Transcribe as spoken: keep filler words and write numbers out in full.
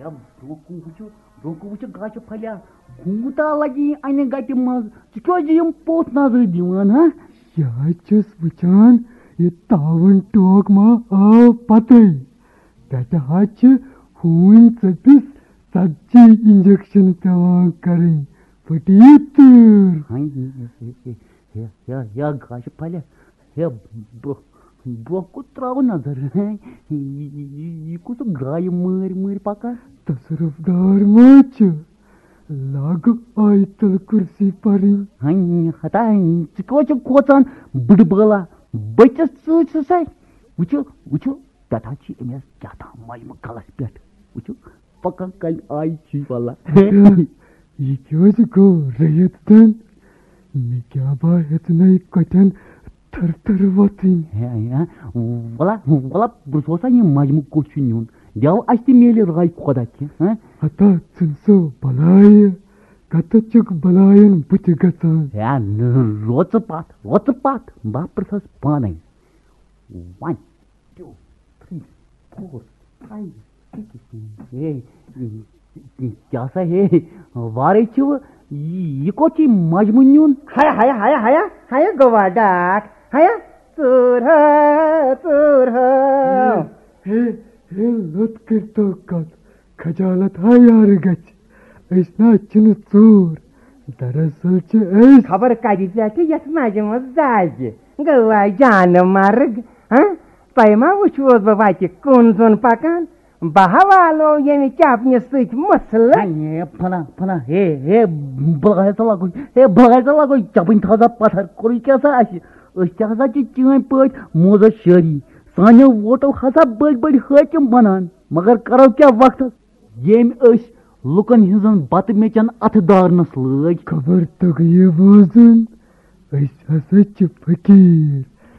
برونٛہہ کُن وٕچھِو، برونٛہہ کُن وٕچھِو، گاچھِ پھلیا، کوٗتاہ لگہِ یہِ انہِ گٹہِ منٛز؟ ژٕ کیٛازِ یِم پوٚژھ نظرِ دِوان، ہا؟ یہِ حظ چھُس وٕچھان، یہِ تاوُن ٹوک ما آو پتہٕ۔ پٮ۪ٹھٕ حظ چھِ ہوٗنۍ ژٔپِس ژتجی انجیکشن پٮ۪وان کرٕنۍ۔ پھٕٹی تۭر۔ ہاے، ہے، ہے، ہے، ہے، ہے، گاچھِ پھلیا، ہے، برٛونٛہہ، برٛونٛہہ کُن ترٛاو نظر۔ ہے، یہِ، یہِ، یہِ، یہِ کُس گایہِ مٲرۍ مٲرۍ پکان؟ تصرف دار ما چھُ؟ لاگہٕ آیتل کُرسی پرٕنۍ۔ ہاے، ہتا، ژٕ کیٛاہ چھُکھ کھوژان؟ بٕڈٕ بٲلا، بٔچِس ژٕ چھُ سا؟ وٕچھِو، وٕچھِو، پٮ۪ٹھٕ چھِ أمِس کیٛاہ تام مجمہٕ کلس پٮ۪ٹھ۔ وٕچھِو، پکان کمہِ آیہِ چھُ یہِ ولا۔ اچھا، یہِ کیٛازِ گوٚو رٔیِتھ زن؟ مےٚ کیٛاہ با ہیٚژنَے کۄٹھٮ۪ن تھر تھر وۄتھٕنۍ۔ ہے، ہے، ولا، ولا، بہٕ سوزا یہِ مجمہٕ کوٚت چھُ نیُن؟ دٮ۪و اَسہِ تہِ میلہِ راے خۄدا کینٛہہ، ہہ؟ ہتا ژٕنسو بلایہِ، کتہٕ چھُکھ بلایَن بُتھِ گژھان؟ ہے، نہ، روژٕ پتھ، روژٕ پتھ، بہٕ پرٛژھس پانے۔ One, two, three, four, five, six. ہے، کیٛاہ سا ہے، وارے چھِ وٕ، یہِ کوٚت چھِ مجمہٕ نیُن؟ ہایا، ہایا، ہایا، ہایا، ہایا، گوٚوا ڈاکھ، ہایا، ژوٗر ہا، ژوٗر ہا۔ ہے، ہے، ہے، لوٚت کٔرۍتو کتھ، خجالت ہا یارٕ گژھِ، أسۍ نہ چھِنہٕ ژوٗر، دراصل چھِ أسۍ۔ خبر کَتہِ پٮ۪ٹھٕ یَتھ مَجہِ منٛز دَزِ۔ گٔوا جانہٕ مرگ، ہاں؟ تۄہہِ ما وٕچھوس بہٕ وَتہِ کُن زوٚن پَکان؟ بہٕ ہا والو ییٚمہِ چَپنہِ سۭتۍ مٕسلہٕ۔ ہے، پھلا، پھلا، ہے، ہے، بہٕ لگاے ژٕ لگوے، ہے، بہٕ لگاے ژٕ لگوے، چَپٕنۍ تھاو سا پَتھر، کوٚرُے کیٛاہ سا اَسہِ؟ أسۍ تہِ ہسا چھِ چٲنۍ پٲٹھۍ موزٕ شٲری، سانیو ووٹو ہسا بٔلۍ بٔلۍ حٲکِم بَنان، مگر کَرو کیٛاہ وقتَس؟ ییٚمۍ أسۍ لُکن ہٕنٛزن بتہٕ میٚژن اتھٕ دارنس لٲگۍ۔ خبر توٚگہٕ یہِ بوزُن، أسۍ ہسا چھِ فقیٖر۔